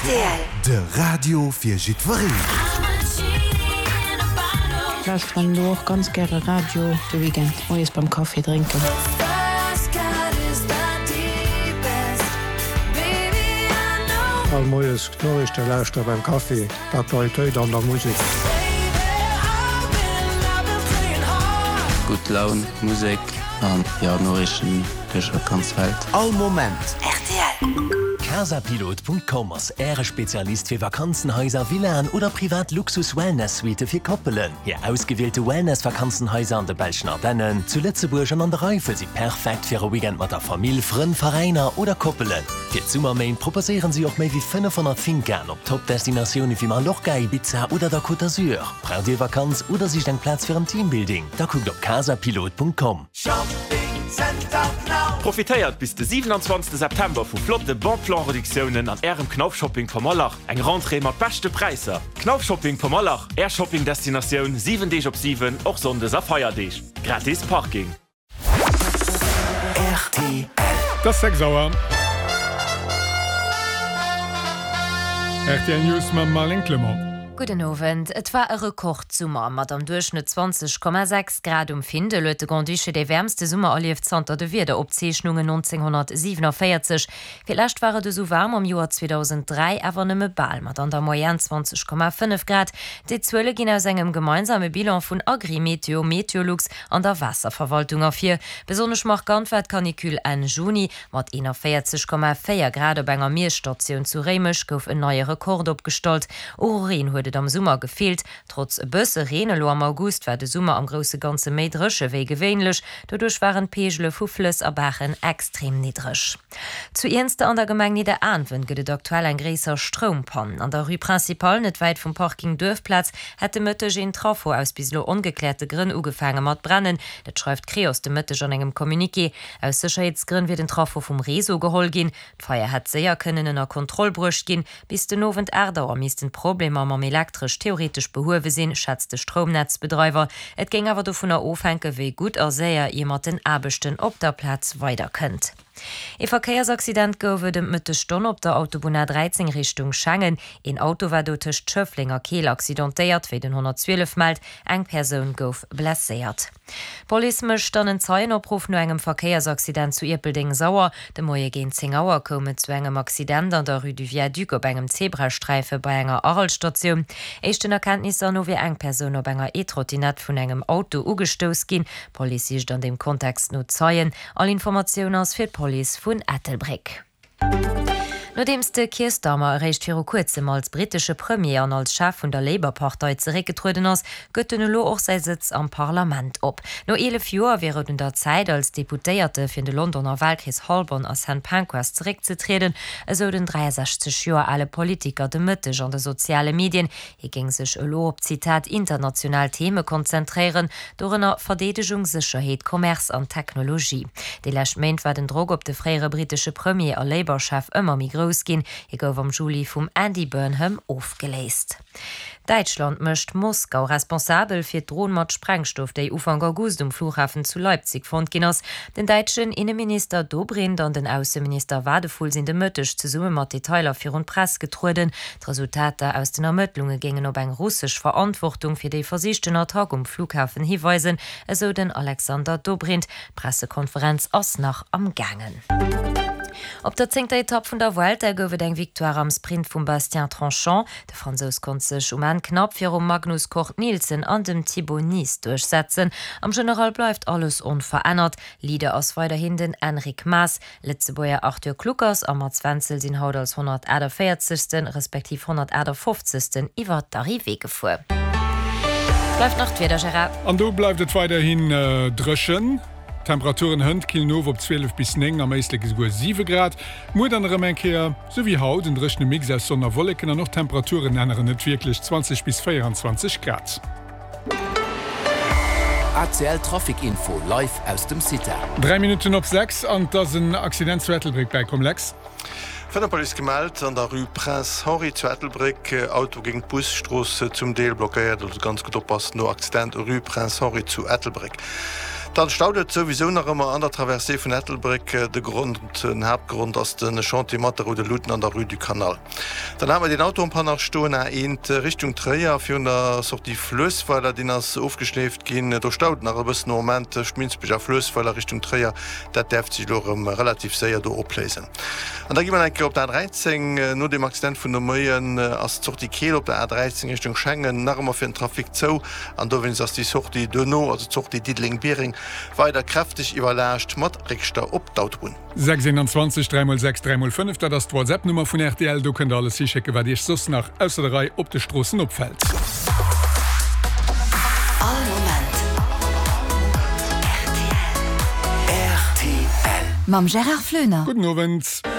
Rtl. De Radio fir jiddwereen. Lauschteren elo och ganz gäre Radio de Weekend moies beim Café drénken. All Moies d'Noriichte lauschtere beim Kaffi, d'Aktualitéit an der Musek. Gutt Laun, Musek an jo Noriichten duerch d'ganz Welt. All Moment rtl. Casapilot.com ass Äre Spezialist fir Vakanzenhaiser, Villaen oder privat Luxus-Wellness-Suitte fir Koppelen. Hir ausgewielte Wellness-Vakanzenhaiser an de belschen Ardennen, zu Lëtzebuerg an an der Eifel si perfekt fir e Weekend mat der Famill, Frënn, Veräiner oder Koppelen. Fir d'Summerméint proposéieren si och méi wéi 500 Fincaen op Top-Destinatioune wéi Mallorca, Ibiza oder der Côte d'Azur. Braucht Dir Vakanz oder sicht eng Plaz fir en Teambuilding? Da kuckt op casapilot.com. Profitéiert bis de 27 September vu flotte Bon Plan Reduktiounen an Ärem Knauf Shopping Pommerlach. Eng Rentrée mat beschte Präisser! Knauf Shopping Pommerlach, Är Shopping Destinatioun 7 Deeg op 7, och Sonndes a Feierdeeg. Gratis Parking. Rtl. Et ass 6 Auer. Rtl News mam Marlène Clement. Gudden Owend. Et war e Rekordsummer. Mat am Duerchschnëtt 20,6 Grad um Findel huet de Grand-Duché dee wäermste Summer erlieft zanter de Wiederopzeechnungen 1947. Fir d'lescht war et esou waarm am Joer 2003, awer nëmme bal, mat an der Moyenne 20,5 Grad. Déi Zuele ginn aus engem gemeinsame Bilan vun Agrimeteo, Meteolux an der Waasserverwaltung ervir. Besonnesch markant war d'Canicule Enn Juni. Mat 41,4 Grad op enger Miesstatioun zu Réimech gouf en neie Rekord opgestallt. Och u Reen huet et am Summer gefeelt. Trotz e bësse Reen elo am August war de Summer am grousse Ganze méi dréche wéi gewéinlech. Doduerch waren d'Peegele vu Flëss a Baachen extrem niddreg. Zu Iernster an der Gemeng Nidderaanwen gëtt et aktuell eng gréisser Stroumpann. An der Rue Principale, net wäit vum Parking Duerfplaz, hätt de Mëtteg een Traffo aus bis elo ongekläerte Grënn ugefaange mat brennen. Dat schreift d'Creos de Mëtteg an engem Communiqué. Aus Sécherheetsgrënn wier den Traffo vum Réseau geholl ginn. D'Feier hätt séier kënnen ënner Kontroll bruecht ginn. Bis den Owend 8 Auer missten d'Problemer mam Elektresch theoretesch behuewe sinn, schätzt de Stroumnetzbedreiwer. Et géing awer dovunner ofhänken, wéi gutt a séier ee mat den Aarbechten op der Plaz weiderkënnt. Ee Verkéiersaccident gouf et ëm d'Mëttesstonn op der Autobunn A13 Richtung Schengen. Een Auto war do tëscht Schëffleng a Keel accidentéiert, wéi den 112 mellt. Eng Persoun gouf blesséiert. D'Police mécht dann en Zeienopruff no engem Verkéiersaccident zu Ierpeldeng-Sauer. De Moie géint 10 Auer koum et zu engem Accident an der Rue du Viaduc op engem Zebrasträife bei enger Arel-Statioun. Éischten Erkenntnisser no wier eng Persoun op enger E-Trottinett vun engem Auto ugestouss ginn. D'Police sicht an deem Kontext no Zeien. All Informatioun ass fir d'Police vun Ettelbréck. Nodeems de Keir Starmer eréischt viru kuerzem als brittesche Premier an als Chef vun der Labour-Partei zeréckgetrueden ass, gëtt en elo och säi Sëtz am Parlament op. No 11 Joer wier et un der Zäit, als Deputéierte fir de Londoner Walkrees Holborn a St Pancras zeréckzetrieden, esou den 63 Joer ale Politiker de Mëtteg an de soziale Medien. Hie géing sech elo op, Zitat, international Theme konzentréieren, dorënner Verdeedegung, Sécherheet, Commerce an Technologie. Déi lescht Méint war den Drock op de fréiere brittesche Premier a Labour-Chef ëmmer méi grouss ginn. Hie gouf am Juli vum Andy Burnham ofgeléist. Däitschland mécht Moskau responsabel fir d'Dron mat Sprengstoff, déi Ufank August um Flughafen zu Leipzig fonnt ginn ass. Den däitschen Inneminister Dobrindt an den Ausseminister Wadephul sinn de Mëtteg zesumme mat Detailer virun d'Press getrueden. D'Resultater aus den Ermëttlunge géingen op eng russesch Verantwortung fir déi versichten Attack um Flughafen hiweisen, esou den Alexander Dobrindt. D'Pressekonferenz ass nach am gaangen. Op der zéngter Etapp vun der Vuelta gouf et eng Victoire am Sprint vum Bastien Tronchon. De Fransous konnt sech um Enn knapp virum Magnus Cort Nielsen an dem Thibau Nys duerchsetzen. Am General bleift alles onverännert. Leader ass weiderhin den Enric Mas. Lëtzebuerger Arthur Kluckers a Mats Wenzel sinn haut als 148. Respektiv 158. Iwwer d'Arrivée gefuer. Bleift nach d'Wieder, Gérard. An do bleift et weiderhin dréchen. D'Temperaturen hënt killen of op 12 bis 9, am Éislek esouguer 7 Grad. Muer dann erëm eng Kéier sou wéi haut en dréchene Mix aus Sonn a Wolleken an och d'Temperaturen änneren net wierklech, 20 bis 24 Grad. ACL Trafic Info live aus dem CITA. 3 Minutten op 6 an 't ass en Accident zu Ettelbréck bäikomm, Lex. Vun der Police gemellt an der Rue Prince Henri zu Ettelbréck, Auto géint Bus, Strooss zum Deel blockéiert, also ganz gutt oppassen no Accident Rue Prince Henri zu Ettelbréck. Dann staut et souwisou nach ëmmer an der Traversée vun Ettelbréck. De Grond, den Haaptgrond ass de Chantier mat de roude Luuten an der Rue du Canal. Dann hate mer deen Auto en panne nach stoen, A1 Richtung Tréier virun der Sortie Fluessweiler, deen ass ofgeschleeft ginn. Do staut et nach e bëssen am Moment tëscht Minsbech a Fluessweiler Richtung Tréier. Dat däerft sech elo erëm relativ séier do opléisen. An da gi mer nach eng Kéier op der A13. No deem Accident vun de Moien ass d'Sortie Keel op der A13 Richtung Schengen nach ëmmer fir den Trafic zou an dowéinst ass déi Sortie duerno, also d'Sortie Diddeleng-Biereng, weider kräfteg iwwerlaascht mat Réckstau op d'Autobunn. 6 21 3 mol 6 3 mol 5, dat ass d'Whatsapp-Nummer vun rtl. Do kënnt der alles hischécken, wat Iech soss nach ausser der Rei op de Stroossen opfält. All Moment rtl. Rtl. Mam Gérard Floener. Gudden Owend.